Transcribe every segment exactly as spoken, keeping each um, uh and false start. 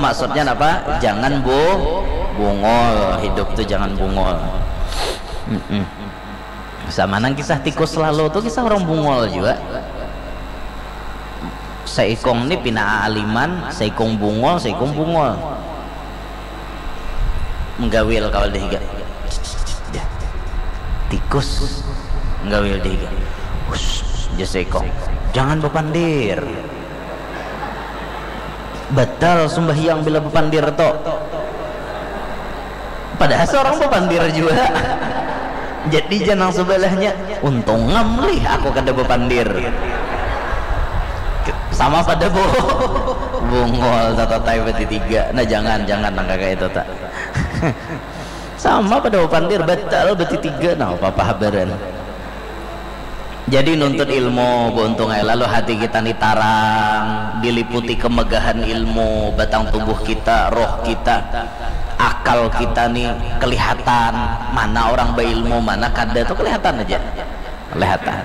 Maksudnya apa? Jangan bu bungol, hidup tuh jangan bungol. Mm-mm. Sama nang kisah tikus lalu tuh kisah orang bungol juga. Seikong ni pina aaliman, seikong bungol, seikong bungol. Menggawil kawal deh higa. Tikus menggawil deh higa. Hus, seikong. Jangan bepandir. Batal sumbahyang bila bepandir to. Padahal seorang bepandir juga. Jadi jangan sebelahnya, untung ngamlih aku kada bepandir. Sama pada bu bungol tatatai berarti tiga. Nah jangan, jangan nang kayak itu tak. Sama pada bepandir batal berarti tiga. Nah apa-apa habaran. Jadi nuntut ilmu beuntung ai lalu hati kita ni tarang, diliputi kemegahan ilmu, batang tubuh kita, roh kita, akal kita ni kelihatan, mana orang beilmu, mana kada tu kelihatan aja. Kelihatan.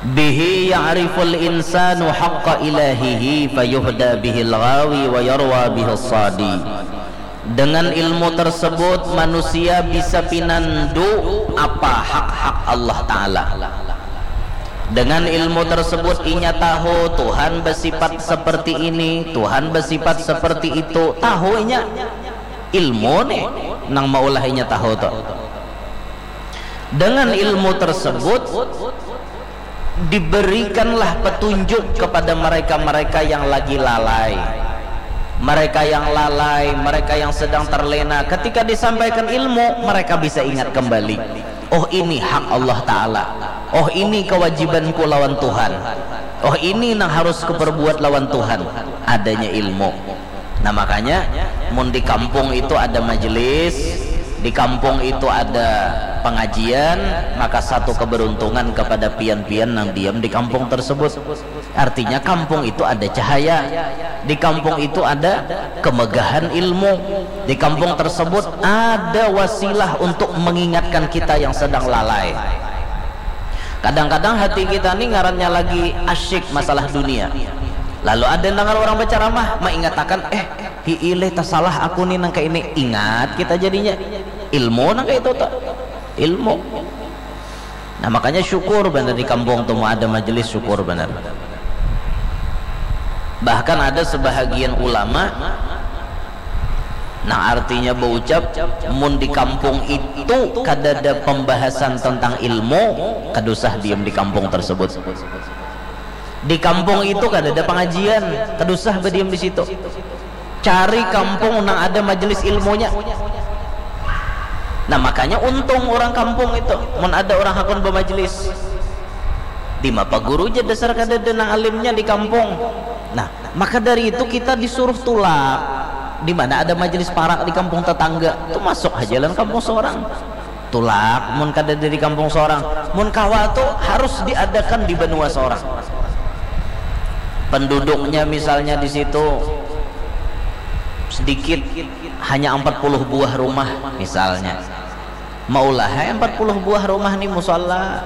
Bihi ya'riful insanu haqqa ilahihi fayuhda bihil ghawi wa yarwa bihis sadi. Dengan ilmu tersebut manusia bisa pinandu apa hak-hak Allah Ta'ala. Dengan ilmu tersebut inya tahu Tuhan bersifat seperti ini, Tuhan bersifat seperti itu. Tahu inya ilmu nih nang maulah inya tahu tuh. Dengan ilmu tersebut diberikanlah petunjuk kepada mereka-mereka yang lagi lalai. Mereka yang lalai, mereka yang sedang terlena, ketika disampaikan ilmu, mereka bisa ingat kembali. Oh, ini hak Allah Ta'ala. Oh, ini kewajibanku lawan Tuhan. Oh, ini yang harus kuperbuat lawan Tuhan. Adanya ilmu. Nah, makanya mun di kampung itu ada majelis, di kampung itu ada pengajian, maka satu keberuntungan kepada pian-pian yang diam di kampung tersebut. Artinya kampung itu ada cahaya, di kampung itu ada kemegahan ilmu, di kampung tersebut ada wasilah untuk mengingatkan kita yang sedang lalai. Kadang-kadang hati kita ni ngarannya lagi asyik masalah dunia. Lalu ada dengar orang berceramah, mengingatakan, eh, hiileh tasalah aku ni nang kayak ini. Ingat kita jadinya. Ilmu nang kayak itu tak? Ilmu. Nah, makanya syukur benar di kampung tuh ada majelis syukur benar. Bahkan ada sebahagian ulama nah artinya berucap mun di kampung itu kada ada pembahasan tentang ilmu, kada usah diem di kampung tersebut. Di kampung itu kada ada pengajian, kada usah berdiam di situ. Cari kampung nang ada majelis ilmunya. Nah, makanya untung orang kampung itu mun ada orang hakun bermajelis. Di mapa guru je dasar kada ada nang alimnya di kampung. Nah, maka dari itu kita disuruh tulak di mana ada majelis parak di kampung tetangga. Itu masuk aja lah kampung seorang. Tulak mun kada dari kampung seorang. Mun kawa tu harus diadakan di benua seorang. Penduduknya misalnya di situ sedikit, hanya empat puluh buah rumah misalnya. Maulah empat puluh buah rumah ni musala.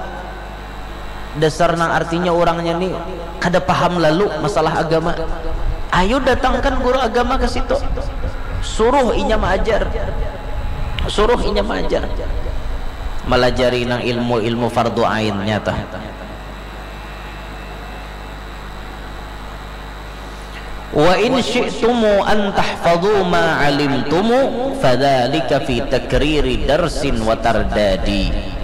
Dasar nang artinya orangnya ni kada paham lalu masalah agama. Ayo datangkan guru agama ke situ. Suruh inya maajar. Suruh inya maajar. Melajari nang ilmu-ilmu fardu ainnya tah. Wa in syi'tumu an tahfadhu ma alimtumu fadzalika fi takriri darsin wa tardadi.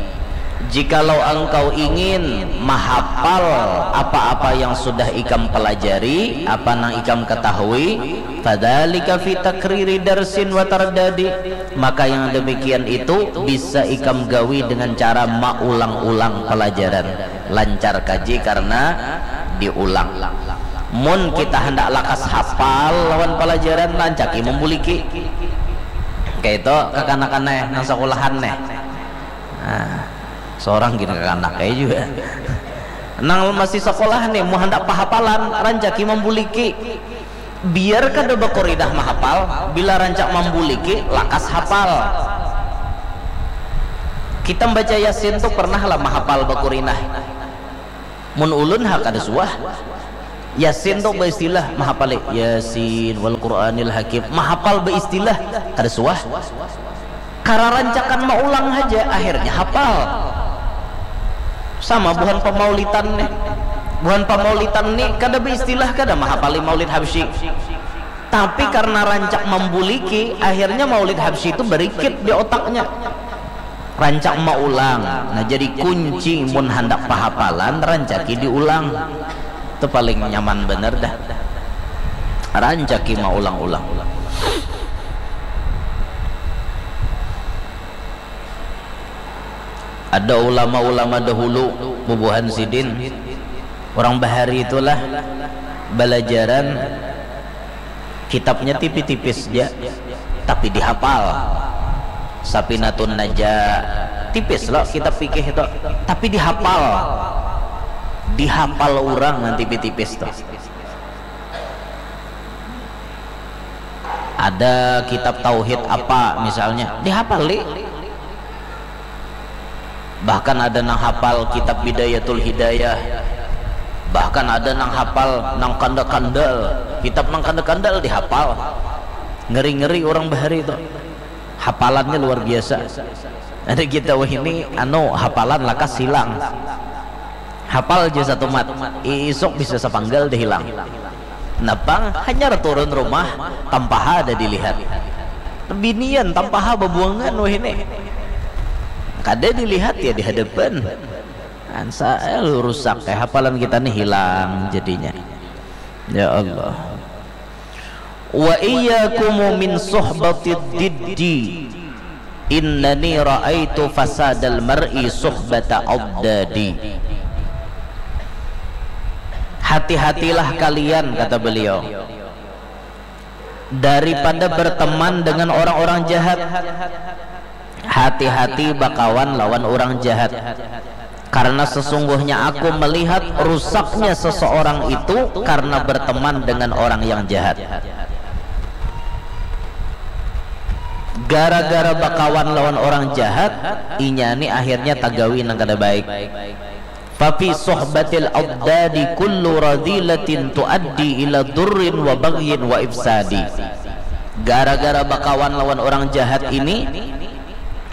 Jikalau engkau ingin mahapal apa-apa yang sudah ikam pelajari, apa nang ikam ketahui, fadzalika fi takriri darsin wa tardadi, maka yang demikian itu bisa ikam gawi dengan cara maulang-ulang pelajaran. Lancar kaji karena diulang. Mun kita hendak lakas hapal lawan pelajaran, rancaki membuliki. Kayak itu kakanakan neh, nang sekolahan neh. Nah, seorang gini kakanak kayak juga. Nang masih sekolah nih, mau hendak pahapalan, rancaki membuliki. Biar kada bakurinah mahapal, bila rancak mambuliki, lakas hapal. Kita membaca Yasin tu pernah lah mahapal bakurinah. Mun ulun ha kada suah. Yasin tu baistilah mahapali, Yasin wal Quranil Hakim, mahapal baistilah, kada suah. Kararancakan maulang haja, akhirnya hapal. Sama buhan pamaulitan nih. Buhan pamaulitan nih kada baistilah, kada mahapali maulid Habsyi. Tapi karena rancak mambuliki, akhirnya maulid Habsyi itu berikit di otaknya. Rancak maulang. Nah, jadi kunci mun handak pahapalan, rancaki diulang. Itu paling nyaman bener dah. Rancaki maulang-ulang. Ada ulama-ulama dahulu, bubuhan sidin, orang bahari itulah, balajaran kitabnya tipis-tipis ja, tapi dihapal. Sapinatun Naja, tipis lo kitab fikih itu, tapi dihapal. Dihapal orang nang tipis-tipis tu. Ada kitab tauhid apa misalnya, dihapali. Bahkan ada nang hapal kitab Bidayatul Hidayah. Bahkan ada nang hapal nang kanda-kandal. Kitab nang kanda-kandal dihapal. Ngeri-ngeri orang bahari itu. Hapalannya luar biasa. Ada kita wahini, anu, hapalan lakas hilang. Hapal ja satu mat, isuk bisa sapanggal dah hilang. Napang hanyar turun rumah, tampaha ada dilihat. Binian tampaha babuangan wahini. Kada dilihat ya di hadapan. Ansa eh, rusak kayak hapalan kita nih hilang jadinya. Ya Allah. Wa iyyakum min suhbatid diddi. Innani ra'aitu fasadal mar'i suhbata abdadi. Hati-hatilah kalian, kata beliau, daripada berteman dengan orang-orang jahat. Hati-hati bakawan lawan orang jahat. Karena sesungguhnya aku melihat rusaknya seseorang itu karena berteman dengan orang yang jahat. Gara-gara bakawan lawan orang jahat, inya ni akhirnya tagawi nang kada baik. Fafi suhbatil abdadi kullu radilatin tuaddi ila durrin wa baghyin wa ifsadi. Gara-gara bakawan lawan orang jahat ini,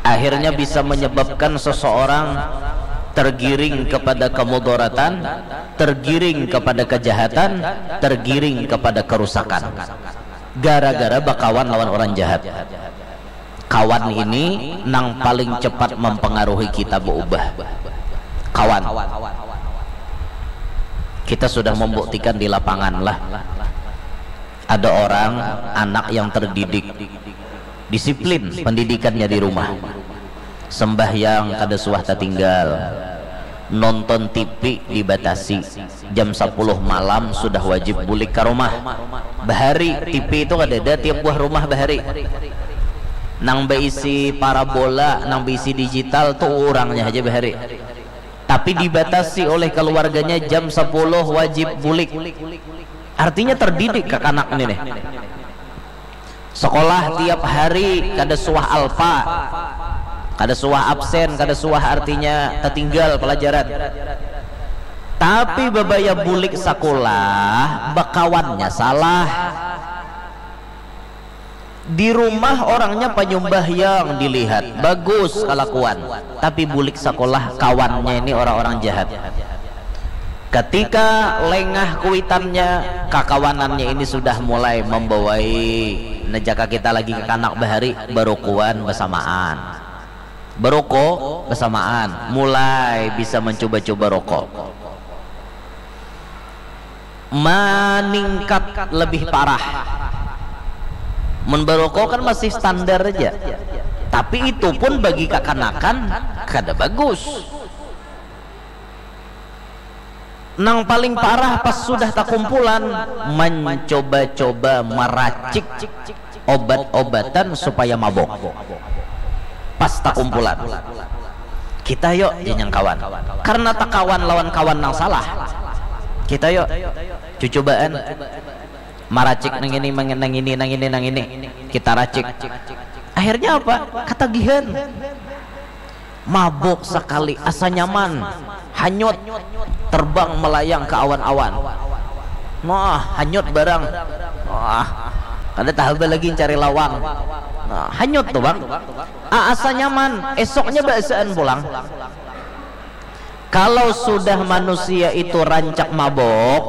akhirnya bisa menyebabkan seseorang tergiring kepada kemudaratan, tergiring kepada kejahatan, tergiring kepada kerusakan. Gara-gara bakawan lawan orang jahat. Kawan ini nang paling cepat mempengaruhi kita berubah. Kawan. Kita sudah membuktikan di lapangan lah. Ada orang, anak yang terdidik, disiplin pendidikannya di rumah. Sembahyang kada suah tertinggal. Nonton T V dibatasi. Jam sepuluh malam sudah wajib bulik ke rumah. Bahari, T V itu kada ada tiap buah rumah bahari. Nang berisi parabola, nang berisi digital tuh orangnya aja bahari. Tapi dibatasi oleh keluarganya jam sepuluh wajib bulik. Artinya terdidik kakanak ini nih. Sekolah tiap hari kada suah alpa, kada suah absen, kada suah artinya tertinggal pelajaran. Tapi babaya bulik sekolah, bakawannya salah. Di rumah orangnya penyumbahyang dilihat, bagus kelakuan. Tapi bulik sekolah kawannya ini orang-orang jahat. Ketika lengah kuitannya, kakawanannya ini sudah mulai membawai, nah jaka kita lagi kakanak bahari, barukuan bersamaan. Baruko bersamaan, mulai bisa mencoba-coba rokok. Meningkat lebih parah. Mun baruko kan masih standar aja. Tapi itu pun bagi kakanakan kada bagus. Nang paling parah pas sudah takumpulan, mencoba-coba meracik obat-obatan supaya mabok. Pas takumpulan, kita yuk janyang kawan. Karena takawan lawan kawan nang salah. Kita yuk cucubaan maracik nang ini, nang ini, nang ini, nang ini. Kita racik. Akhirnya apa? Katagihan. Mabuk sekali, asa nyaman, hanyut, terbang melayang ke awan-awan. Nah, hanyut barang. Wah, kada tahaba lagi cari lawang. Nah, hanyut tuh, Bang. Asa nyaman, esoknya baasaan pulang. Kalau sudah manusia itu rancak mabok,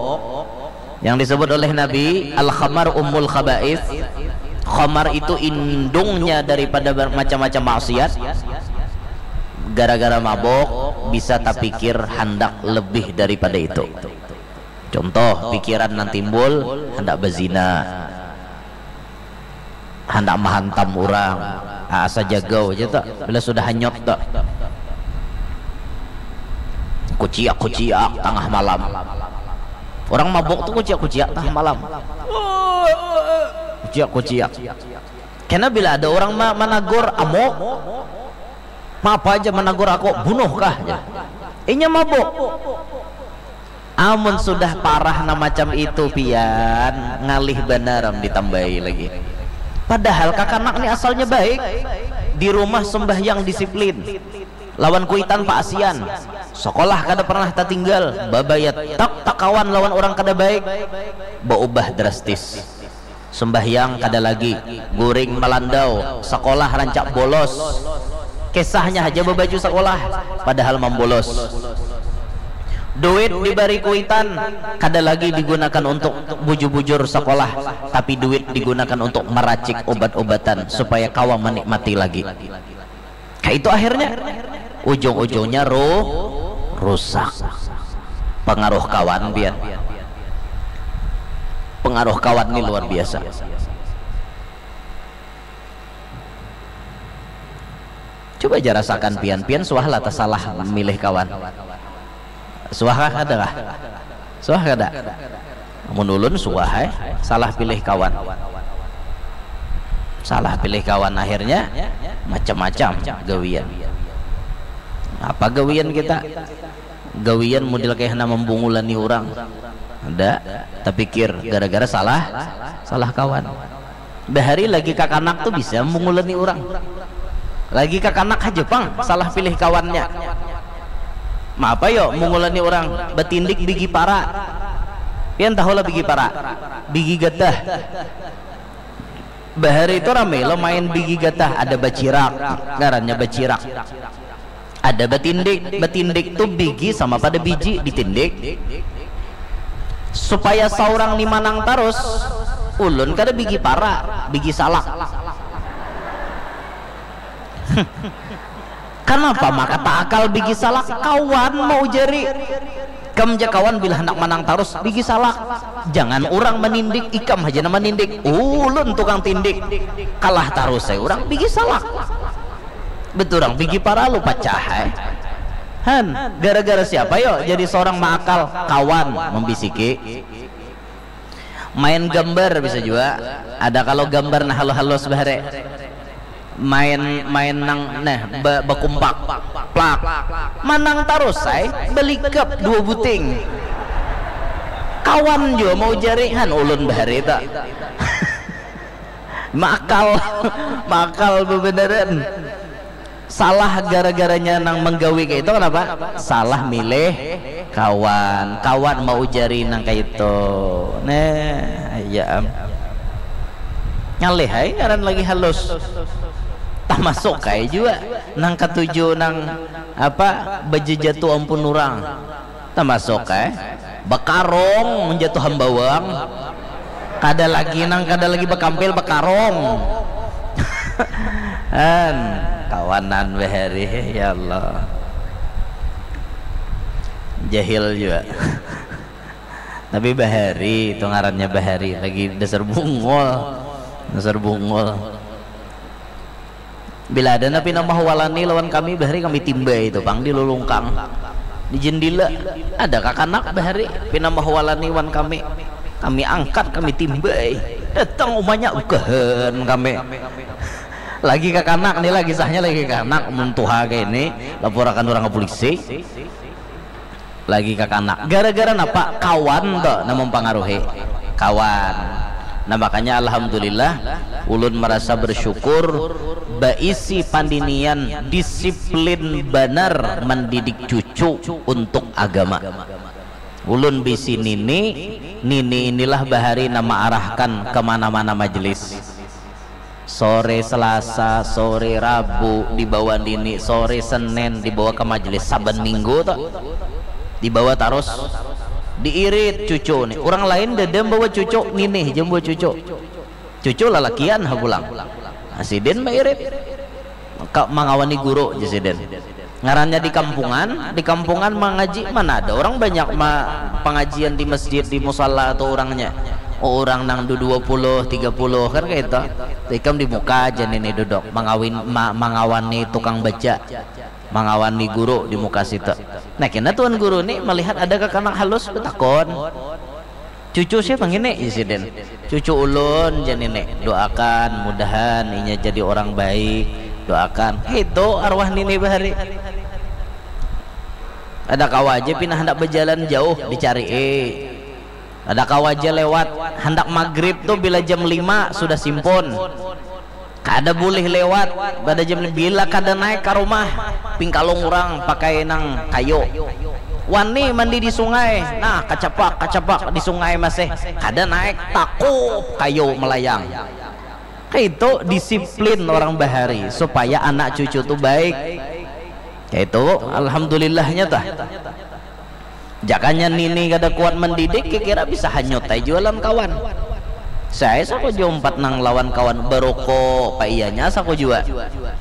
yang disebut oleh Nabi, "Al-khamar ummul khaba'ith." Khamar itu indungnya daripada ber-, macam-macam maksiat. Gara-gara mabok, bisa tapikir handak lebih daripada itu. Contoh, pikiran nang timbul, handak bazina, handak mahantam urang. Ah, asa jagau aja tu. Bila sudah hanyut tu, kuciak-kuciak tangah malam. Orang mabuk tu kuciak-kuciak tangah malam. Kuciak-kuciak. Kena bila ada orang ma-, managur, "Amuk, ma apa aja managur aku, bunuh kah?" jar. Inya mabuk. Amun sudah parah nang macam itu, pian, ngalih banar am ditambahi lagi. Padahal kakanak ni asalnya baik. Di rumah sembahyang disiplin. Lawan kuitan paasian. Sekolah kada pernah tatinggal. Babaya tak takawan lawan orang kada baik. Baubah drastis. Sembahyang kada lagi, guring malandau, sekolah rancak bolos. Kisahnya haja babaju sekolah, padahal mambolos. Duit dibari kuitan kada lagi digunakan untuk bujur-bujur sekolah, tapi duit digunakan untuk meracik obat-obatan supaya kawa menikmati lagi. Kaitu akhirnya, ujung-ujungnya ru-, rusak. Pengaruh kawan, pian. Pengaruh kawan ni luar biasa. Coba ja rasakan pian, pian suah lah tasalah milih kawan. Suah kah, kada kah? Suah kada? Mun ulun suah ai, salah pilih kawan. Salah pilih kawan, akhirnya macam-macam gawian. Apa gawian kita? Gawian model kaya handak mambungulani urang. Ada, tapikir gara-gara salah, salah kawan. Bahari lagi kakanak tu bisa mungulani urang. Lagi kakanak haja pang salah pilih kawannya. Maapa yo mungulani urang, batindik bigi para. Pian tahu lah bigi para? Bigi gatah. Bahari tu rame lo main bigi gatah, ada bacirak, ngarannya bacirak. Ada batindik, batindik tu bigi sama pada biji ditindik. Supaya saurang ni manang tarus, ulun kada bigi para, bigi salak. Kanapa maka taakal bigi salak? Kawan mau jari. Kam ja kawan bila handak manang tarus, bigi salak. Jangan urang manindik, ikam haja nang manindik. Ulun tukang tindik. Kalah tarus ai urang, bigi salak. Beturang bigi para lu pacah ai. Han, gara-gara siapa yo jadi sorang maakal? Kawan mambisiki. Main gambar bisa jua. Ada kalau gambar nah halus-halus bahari. Main, main nang nah ba-, bakumpak. Plak. Manang tarus ai, balikap dua buting. Kawan jua mau jari, han ulun bahari tu. Maakal, maakal bebeneran. Salah gara-garanya nang menggawi kayak itu, kenapa? Salah milih kawan, kawan mau jari nang kayak itu. Nah, ya am. Ngalih ai ngaran lagi halus. Tamasuk kayak juga nang katuju nang apa, bejejatu ampun orang. Tamasuk eh, bakarong menjatuh hambawang. Kada lagi nang, kada lagi bakampil, bakarong. An, kawanan bahari, ya Allah. Jahil juga. Tapi bahari itu ngarannya bahari, lagi dasar bungul. Dasar bungul. Bila ada nah pina mahwalani lawan kami, bahari kami timbai itu pang di lulungkang, di jendela. Ada kakanak bahari pina mahwalani wan kami, kami angkat, kami timbai. Datang umanya, bukahan kami. Lagi kakanak ni, lagi sahnya lagi kakanak, mun tuha kayak ini lapurakan orang ke polisi. Lagi kakanak. Gara-gara napa? Kawan tu nang mempengaruhi. Kawan. Nah, makanya alhamdulillah ulun merasa bersyukur baisi pandinian disiplin banar mendidik cucu untuk agama. Ulun bisi nini Nini inilah bahari nama arahkan ke mana-mana majelis. Sore Selasa, sore Rabu dibawa Nini, sore Senin dibawa ke majelis, saban minggu tuh dibawa terus. Diirit cucu nih. Orang lain dadam bawa cucu, Nini jam bawa cucu. Cucu lalakian ha pulang. Nah, sidin mairit. Ka, mangawani guru, jar sidin. Ngarannya di kampungan, di kampungan mangaji, mana ada orang banyak ma, pangajian di masjid, di musala atau orangnya. Oh, orang nang du dua puluh, tiga puluh kan kayak itu. Ikam di muka aja nih duduk, mangawin, ma, mangawani tukang baca, mangawani guru di muka situ. Nah, kena tuan guru nih melihat ada kakanak halus, betakon. Cucu siapa ngini? Isi den. Cucu ulun, jar nini. Doakan, mudahan inya jadi orang baik. Doakan. Itu arwah nini bahari. Ada kawa aja pina handak berjalan jauh, dicari. Ada kawa aja lewat, handak maghrib tuh bila jam lima sudah simpun. Kada boleh lewat pada jam bila kada naik ke rumah, pingkalung orang pakai nang kayu. Wani mandi di sungai, nah, kacapak kacapak di sungai masih kada naik, takup kayu melayang. Kayak itu disiplin orang bahari supaya anak cucu tuh baik. Kayak itu, alhamdulillahnya tah. Jakanya nini kada kuat mendidik, kira bisa hanyut ai jua lawan kawan. Saya sako jua umpat nang lawan kawan baroko, paiyanya sako jua.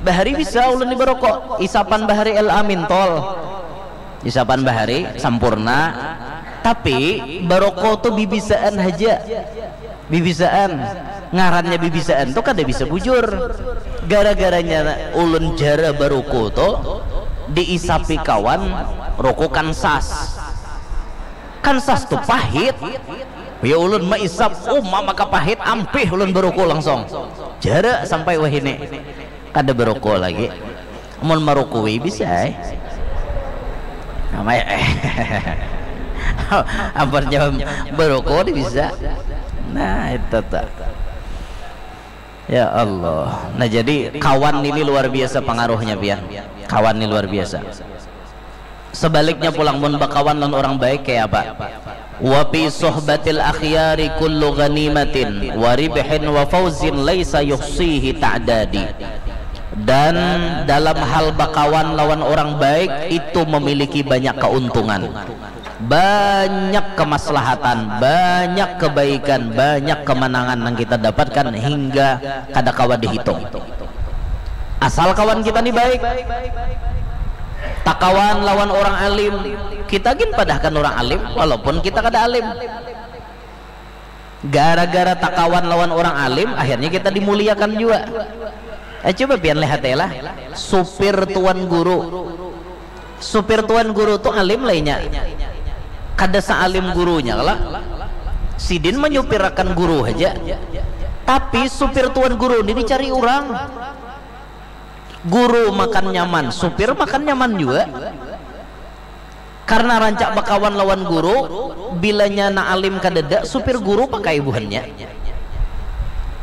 Bahari bisa ulun di baroko, isapan bahari L A mintol. Isapan bahari sampurna. Tapi baroko tu bibisaan haja. Bibisaan. Ngarannya bibisaan tu kada bisa bujur. Gara-garanya ulun jara baroko tu diisapi kawan roko Kansas. Kansas tu pahit. Ya ulun maisap, uma maka pahit, ampih ulun baroko langsung. Jara sampai wahini. Kada baroko lagi. Mun marukui bisa ai. Amai ampun jawab baroko ni bisa. Nah, itu tuh. Ya Allah. Nah, jadi kawan ini luar biasa pengaruhnya, pian. Kawan ini luar biasa. Sebaliknya pulang, mun bakawan lawan orang baik kayak apa? Wa fi suhbatil akhyari kullu ghanimatin wa ribhin wa fauzin laisa yuhsihi ta'dadi. Dan dalam hal bakawan lawan orang baik itu memiliki banyak keuntungan, banyak kemaslahatan, banyak kebaikan, banyak kemenangan yang kita dapatkan hingga kada kawa dihitung. Asal kawan kita ni baik, takawan lawan orang alim, kita gin padahkan orang alim walaupun kita kada alim. Gara-gara takawan lawan orang alim, akhirnya kita dimuliakan juga. Eh, coba pian lihat ya lah, supir tuan guru. Supir tuan guru tu alim lainnya. Kada sealim gurunya lah. Sidin menyupirakan guru aja. Tapi supir tuan guru ini dicari orang. Guru makan nyaman, supir makan nyaman juga. Karena rancak bakawan lawan guru, bilanya na alim kadada, supir guru pakai buhannya.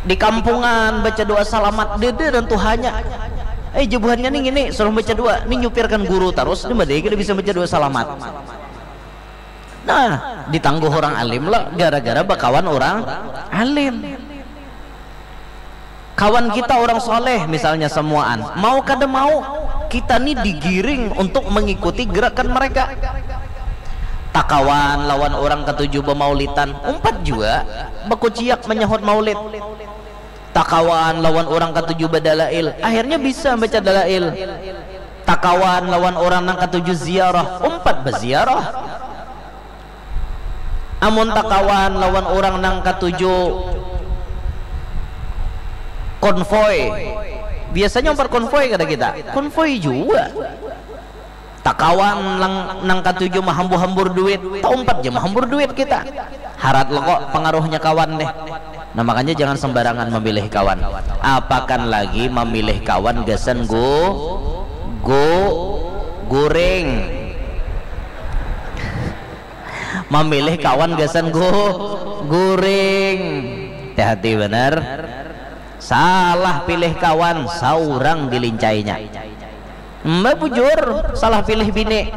Di kampungan baca doa salamat, dede dan tuhanya. Eh, jebuhannya nih gini, suruh baca doa, nih nyupirkan guru terus, di mana kita bisa baca doa salamat. Nah, ditangguh orang alim lah, gara-gara bakawan orang alim. Kawan kita orang soleh misalnya semuaan, mau kada mau kita nih digiring untuk mengikuti gerakan mereka. Takawan lawan orang katuju bemaulitan, umpat juga bekuciak menyahut maulid. Takawan lawan orang katuju bedalail, akhirnya bisa baca dalail. Takawan lawan orang nang katuju ziarah, umpat beziarah. Amun takawan lawan orang nang katuju konvoy, biasanya umpat konvoy kada kita? Konvoy juga. Takawan nang, nang katuju mahambur-hambur duit, taumpat ja mahambur duit kita. Harat lo kok pengaruhnya kawan deh. Nah, makanya jangan sembarangan memilih kawan. Apakan lagi memilih kawan gasan gu, gu, guring. Memilih kawan gasan gu, guring. Hati-hati benar. Salah pilih kawan, saurang dilincainya. Mbak bujur, salah pilih bini.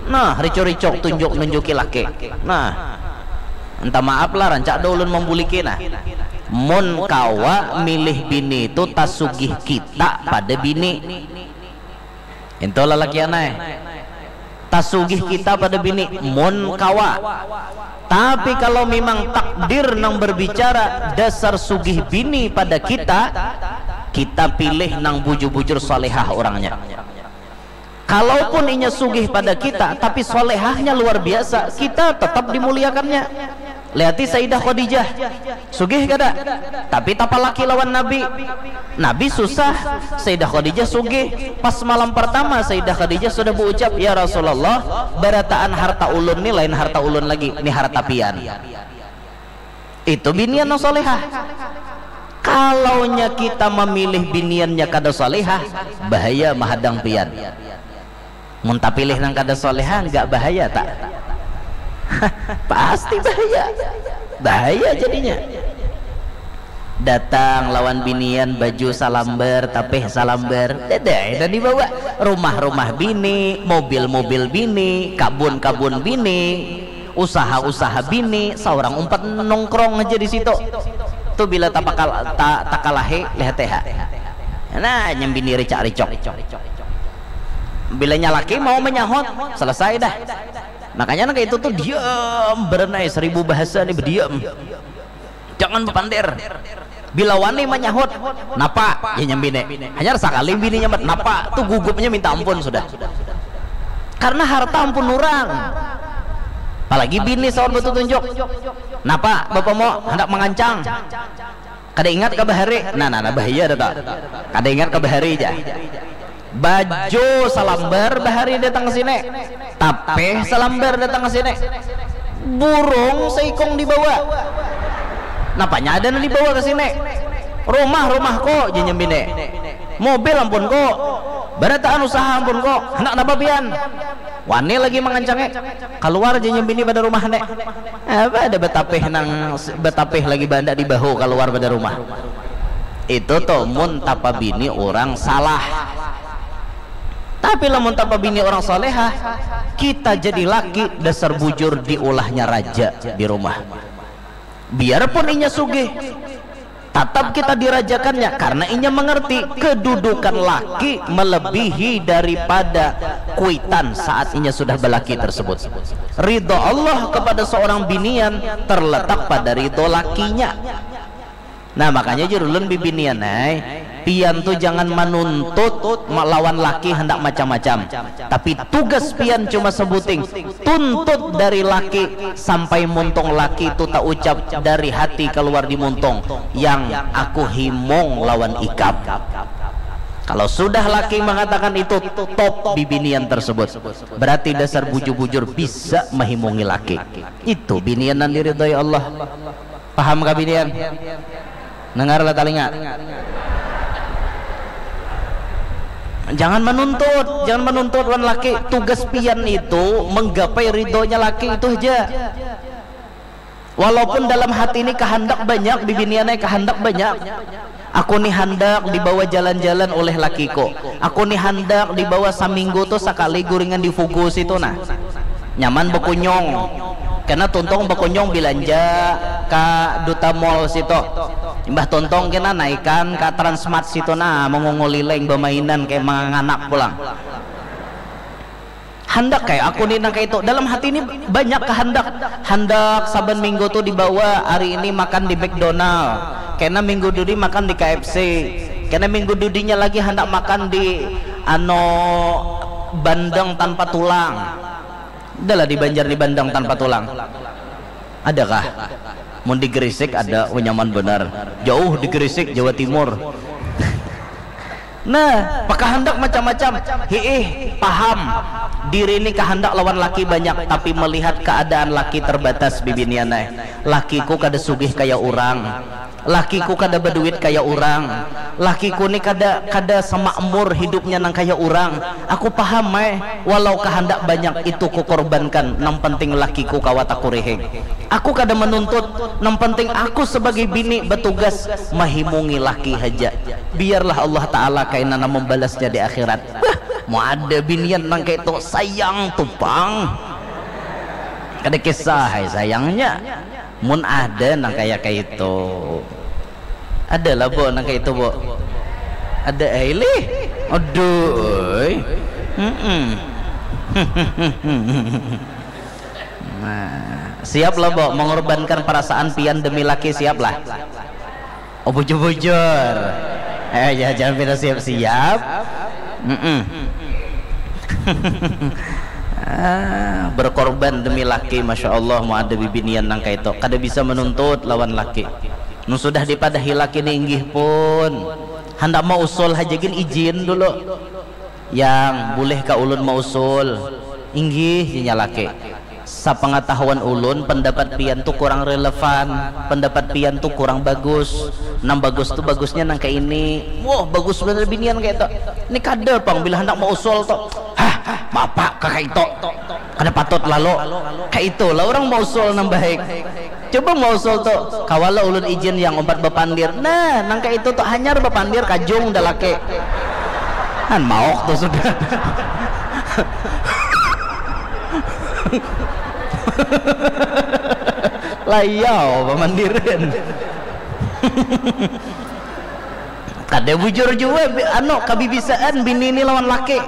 Nah, ricu-ricuk tunjuk nunjuki laki. Nah, Entah maaf lah, rancak ada ulun membuliki nah. Mun kawa milih bini itu tasugih kita pada bini. Itu lalakian ai. Tasugih kita pada bini mun kawa. Tapi kalau memang takdir nang berbicara dasar sugih bini pada kita, kita pilih nang bujur-bujur solehah orangnya. Kalaupun inya sugih pada kita, tapi solehahnya luar biasa, kita tetap dimuliakannya. Lihati Sayyidah Khadijah, sugih kada? Tapi tapalaki lawan Nabi. Nabi susah, Sayyidah Khadijah sugih. Pas malam pertama Sayyidah Khadijah sudah berucap, "Ya Rasulullah, barataan harta ulun ni lain harta ulun lagi, ni harta pian." Itu binian nang solehah. Kalaunya kita memilih biniannya kada solehah, bahaya mahadang pian. Mun tapilih nang kada solehah, nggak bahaya tak? Pasti bahaya. Bahaya jadinya. Datang lawan binian baju salambar, tapih salambar, dadai dan dibawa. Rumah-rumah bini, mobil-mobil bini, kabun-kabun bini, usaha-usaha bini, seorang umpat nongkrong aja di situ. Tu bila tapakal ta, takalahi, lihat ha. Nah, nyambini ricak-ricok. Bilanya laki mau menyahut, selesai dah. Makanya nang itu tuh diam berenai, seribu bahasa nih, berdiam. Jangan bepander. Bila wani menyahut, "Napa?" Ya nyambine. Hanya sekali bini nyambat, "Napa?" Tuh gugupnya minta ampun sudah. Karena harta ampun orang. Apalagi bini sawan betutunjuk. "Napa, Bapak mau hendak mengancang?" Kada ingat ka bahari. Nah, nah, nah, bahaya dah tak. Kada ingat ka bahari aja. Baju salambar bahari datang ke sini. Tapeh salambar datang ke sini. Burung seikung dibawa. Napanya ada nang dibawa ke sini? Rumah, rumah ko, janyam bini. Mobil ampun ko. Barataan usaha ampun ko. Hendak napa pian? Wani lagi mangancangi. Kaluar janyam bini pada rumah ne. Apa ada betapih nang betapih lagi banda di bahu kaluar pada rumah. Itu tuh mun tapa bini orang salah. Tapi lamun tapa bini orang solehah, kita jadi laki dasar bujur diulahnya raja di rumah. Biarpun inya sugih, tatap kita dirajakannya karena inya mengerti kedudukan laki melebihi daripada kuitan saat inya sudah belaki tersebut. Ridho Allah kepada seorang binian terletak pada ridho lakinya. Nah, makanya jurulun bibinian ai, pian tu jangan manuntut lawan laki hendak macam-macam. Tapi tugas pian cuma sebuting, tuntut dari laki sampai muntung laki tu taucap dari hati keluar di muntung, "Yang aku himung lawan ikam." Kalau sudah laki mengatakan itu, top bibinian tersebut. Berarti dasar bujur-bujur bisa mehimungi laki. Itu binian nan diridhoi Allah. Paham kah binian? Dengarlah talinga. Jangan menuntut, jangan menuntut wan laki. Tugas pian itu menggapai ridhonya laki itu aja. Walaupun dalam hati ini kehendak banyak, bibinian ai kehendak banyak. Aku ni handak dibawa jalan-jalan oleh lakiku. Aku ni handak dibawa saminggu tu sakali guringan di Fugu situ nah. Nyaman bekunyung. Kena tuntung bekunyung bilanja ka Duta Mall situ. Imbah tuntung kena naikan ka Transmart situ nah, mengungul lileng bemainan kayak manganak pulang. Handak kayak aku ni nang kayak itu. Dalam hati ini banyak kehendak. Handak saban minggu tu dibawa, hari ini makan di McDonald. Kena minggu dudi makan di K F C. Kena minggu dudinya lagi handak makan di ano bandeng tanpa tulang. Adalah di Banjar di bandeng tanpa tulang. Adakah? Mun di Gresik ada, oh, nyaman benar. Jauh di Gresik, Jawa Timur. Nah, pakahandak macam-macam. Hiih, paham. Diri ni kahandak lawan laki banyak, tapi melihat keadaan laki terbatas, bibinian ai. Lakiku kada sugih kaya urang. Lakiku kada baduit kaya urang. Lakiku ni kada, kada semakmur hidupnya nang kaya urang. Aku paham ai, walau kahandak banyak itu kukorbankan, nang penting lakiku kawa takurihing. Aku kada menuntut, nang penting aku sebagai bini batugas mahimungi laki haja. Biarlah Allah Ta'ala kaina nang membalasnya di akhirat. Bah, mau ada binian nang kaitu, sayang tu pang. Kada kisah ai sayangnya. Mun ada nang kaya kaitu. Ada lah, Bo, nang kaitu, Bo. Ada ai lih. Aduh, oi. Mm-mm. Nah, siap lah, Bo, mengorbankan perasaan pian demi laki, siap lah. Oh, bujur-bujur. Eh, ya, jangan pina siap-siap. Mm-mm. Ah, berkorban demi laki, masya Allah, mau ada bibinian nang kaitu. Kada bisa menuntut lawan laki. Nu sudah dipadahi laki ni inggih pun. Handak mausul haja gin izin dulu. Yang, bulih ka ulun mausul? Inggih, inya laki. Sapangatahuan ulun, pendapat pian tu kurang relevan, pendapat pian tu kurang bagus. Nang bagus tu bagusnya nang kaini. Wah, bagus banar binian kaitu. Ni kada pang bila handak mausul tu. Hah, hah, maapa ka kaitu? Kada patut lalu. Kaitu lah urang mausul nang baik. Coba mausul tu, kawa lah ulun izin yang umpat bapandir. Nah, nang kaitu tu hanyar bapandir kajung da laki. Han mauk tu sudah. Layau pamandiran. Kada bujur jua, bi-, anu, kabibisaan bini ni lawan laki.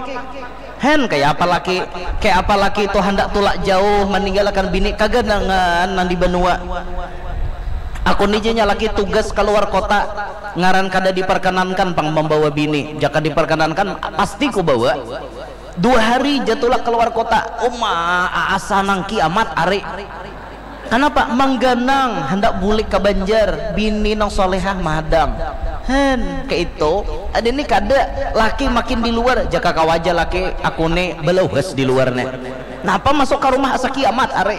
Hen, kaya apa laki, kaya apa laki tu handak tulak jauh maninggalakan bini, kaganangan nang di banua. Aku ni ja nya laki tugas kaluar kota, ngaran kada diperkenankan pang mambawa bini, jaka diperkenankan pasti kubawa. Dua hari ja tulak kaluar kota, uma, asa nang kiamat ari. Kanapa? Mangganang, handak bulik ka Banjar, bini nang solehah mahadang. Hen, kaitu. Ada ni kada, laki makin di luar, jaka kawa ja laki, aku ni balauhas di luar ni. Napa masuk ka rumah asa kiamat ari?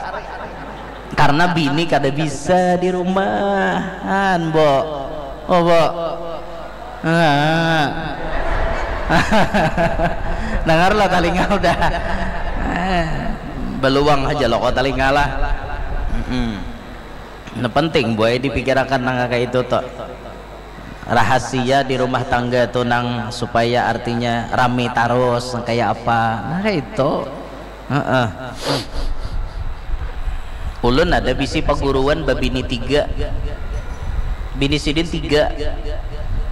Karna bini kada bisa di rumah. Han, Bo. Oh, Bo. Ah. Dangar lo talinga udah. Ah, baluang haja lo ko talinga lah. Mm-mm. Nah, penting, boy, dipikirakan nang kaya itu tu. Rahasia di rumah tangga tu nang supaya artinya rami tarus, nang kaya apa. Nah, kaya itu. Heeh. Ulun ada bisi paguruan babini tiga. Bini sidin tiga.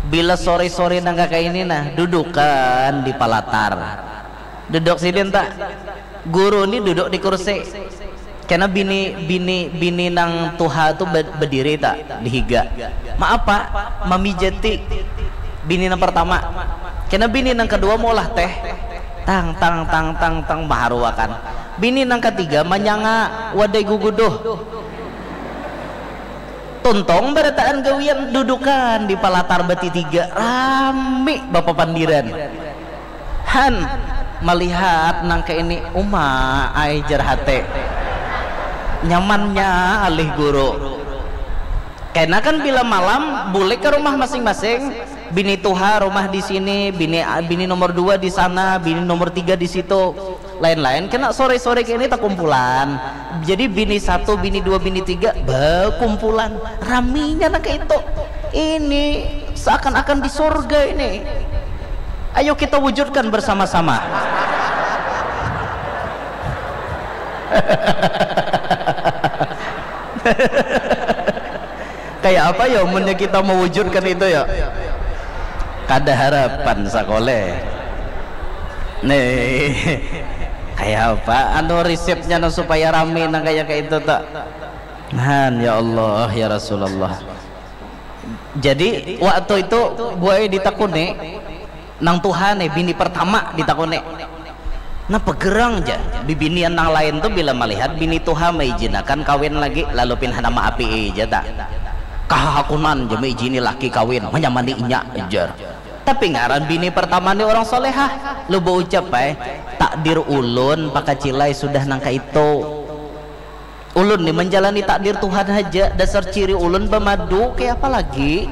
Bila sore-sore nang kakaini nah, dudukan di palatar. Duduk sidin ta. Guru ni duduk di kursi. Kena bini, bini, bini nang tuha tu be-, bediri ta di higa. Maapa? Mamijati bini nang pertama. Kena bini nang kedua maulah teh. Tang, tang, tang, tang, tang, baharuakan. Bini nang katiga manyanga wadai guguduh. Tuntung barataan gawian dudukan di palatar batitiga, rami bapapandiran. Han malihat nang kaini, uma ai jar hati. Nyamannya alih guru. Kena kan bila malam bulik ke rumah masing-masing, bini tuha rumah di sini, bini bini nomor dua di sana, bini nomor tiga di situ. Lain-lain kena sore-sore kaini takumpulan. Jadi bini satu, bini dua, bini tiga bakumpulan. Raminya nang kaitu. Ini seakan-akan di surga ini. Ayo kita wujudkan bersama-sama. Kayak apa ya, munnya kita mewujudkan itu ya? Kada harapan sakoleh. Nih, kayak apa? Anu, resepnya no supaya rame nang kayak kayak itu tak? Nah, ya Allah, ya Rasulullah. Jadi waktu itu buai ditakuni, nang tuha nih, bini pertama ditakuni. Nah, pegerang ja, bibinian nang lain tu bila malihat bini tuha maijinakan kawin lagi, lalu pin handak maapii ja ta. Kahahakunan ja maijini laki kawin, manyamani inya, jar. Tapi ngaran bini pertama ni urang solehah, lu baucap ai, takdir ulun pakacilai sudah nang kaitu. Ulun ni manjalani takdir Tuhan haja, dasar ciri ulun bamadu, kaya apa lagi?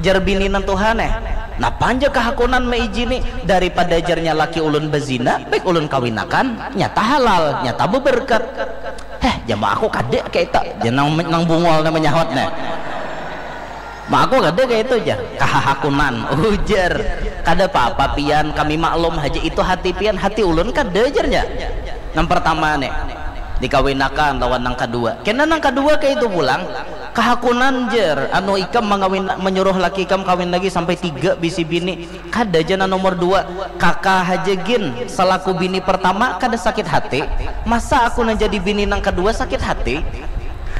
Jar bini nang tuha neh, napa anja kahakunan maijini, daripada jarnya laki ulun bazina, baik ulun kawinakan, nyata halal, nyata babarkat. Heh, jar ma aku kada kaya itu, jar nang, nang bungul neh manyahut neh. Ma aku kada kaya itu jar, kahahakunan, ujar. Kada papa pian, kami maklum haja itu hati pian, hati ulun kada jarnya. Nang pertama nih, dikawinakan lawan nang kadua. Kena nang kadua kaitu pulang, kahakunan jer, anu ikam mangawin, manyuruh laki ikam kawin lagi sampai tiga bisi bini, kada ja nang nomor dua, kaka haja gin, salaku bini pertama kada sakit hati, masa aku nang jadi bini nang kadua sakit hati?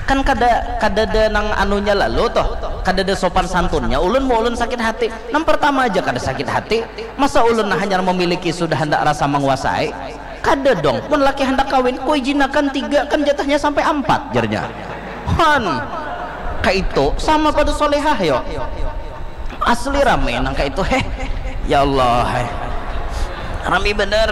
Kan kada, kadada nang anunya lalu toh, kadada sopan santunnya, ulun mau ulun sakit hati, nang pertama aja kada sakit hati, masa ulun nang hanyar memiliki sudah handak rasa menguasai? Kada dong, mun laki handak kawin, kuijinakan tiga, kan jatahnya sampai ampat, jarnya. Han, kaitu, sama pada solehah yo. Asli rame nang kaitu, heh. Ya Allah, heh. Rame bener.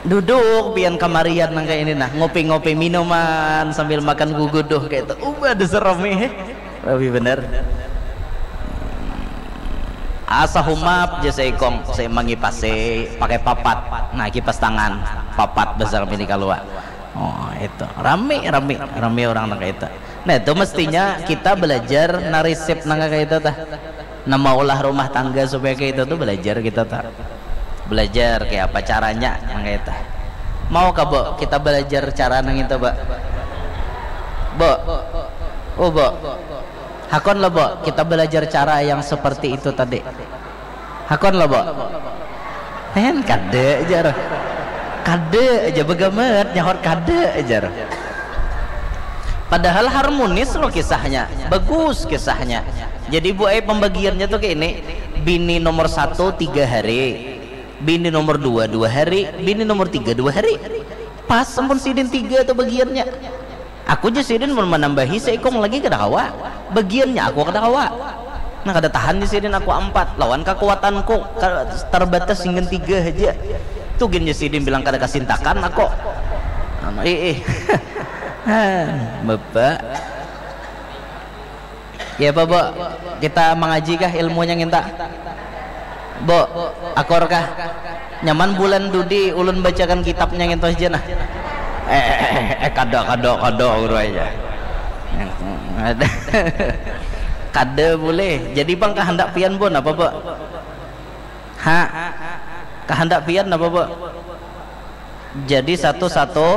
Duduk pian kamarian nang kayak ini nah, ngopi-ngopi minuman sambil makan guguduh kayak itu. Ubah dasar rame, heh. Lebih bener. Asa humap ja seikong, saya mangipasi pakai papat. Nah, kipas tangan, papat besar mini kalua. Oh, itu. Rame, rame, rame orang nang kayak itu. Nah, itu mestinya kita belajar narisip nang kayak itu tah. Nah, maulah rumah tangga supaya kayak itu tuh belajar kita tah. Belajar kayak apa caranya nang kayak itu. Mau kah, Bu? Kita belajar cara nang itu, Bu. Bu. Oh, Bu. Hakon lah, Bu. Kita belajar cara yang seperti itu tadi. Hakon lah, Bu. Hen, kada ajar. Kada aja begamat, nyahor kada ajar. Padahal harmonis loh kisahnya, bagus kisahnya. Jadi, Bu, eh, pembagiannya tuh kayak ini. Bini nomor satu tiga hari, bini nomor dua dua hari, bini nomor tiga dua hari. Pas ampun sidin tiga tuh bagiannya. Aku ja sidin mun manambahi seikung lagi kada kawa. Bagiannya aku kada kawa. Nah, kada tahan di sidin aku ampat lawan kakuatanku ka-, terbatas hingga tiga haja. Tu gin ja sidin bilang kada kasintakan aku. Ih, ih. Hah, Bapak. Ya apa, Bu? Kita mangaji kah ilmunya nginta? Bu, akur kah? Nyaman bulan dudi ulun bacakan kitabnya ngintu haja nah. Eh, eh, eh, eh, eh, kada, kada, kada, guru aja. Kada. Kada boleh. Jadi pang kahandak pian, Bu, napa, Bu? Ha? Kahandak pian napa, Bu? Jadi satu-satu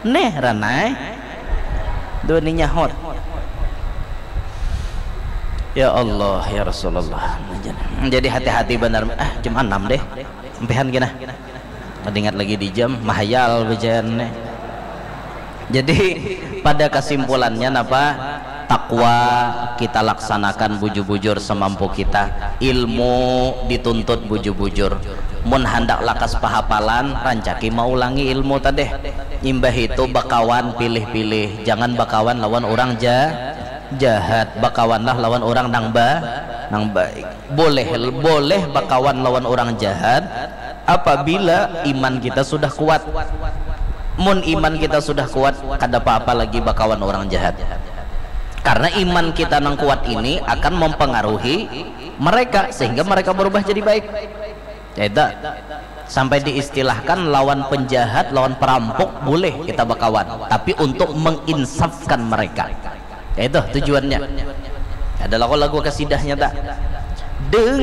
neh ranai. Dua ni nyahut. Ya Allah, ya Rasulullah. Jadi hati-hati benar. Ah, jam enam deh. Empihan kena. Kada ingat lagi di jam, mahayal bejaan nih. Jadi pada kesimpulannya napa? Takwa kita laksanakan bujur-bujur semampu kita. Ilmu dituntut bujur-bujur. Mun handak lakas pahapalan, rancaki maulangi ilmu tadeh. Imbah itu bakawan pilih-pilih, jangan bakawan lawan orang ja-, jahat, bakawanlah lawan orang nang ba-, nang baik. Boleh, boleh bakawan lawan orang jahat apabila iman kita sudah kuat. Mun iman kita sudah kuat, kada apa-apa lagi bakawan orang jahat. Karena iman kita nang kuat ini akan mempengaruhi mereka sehingga mereka berubah jadi baik. Ya itu. Sampai diistilahkan lawan penjahat, lawan perampok boleh kita bakawan, tapi untuk menginsafkan mereka. Ya itu tujuannya. Ada lagu-lagu kasidahnya tak? Deng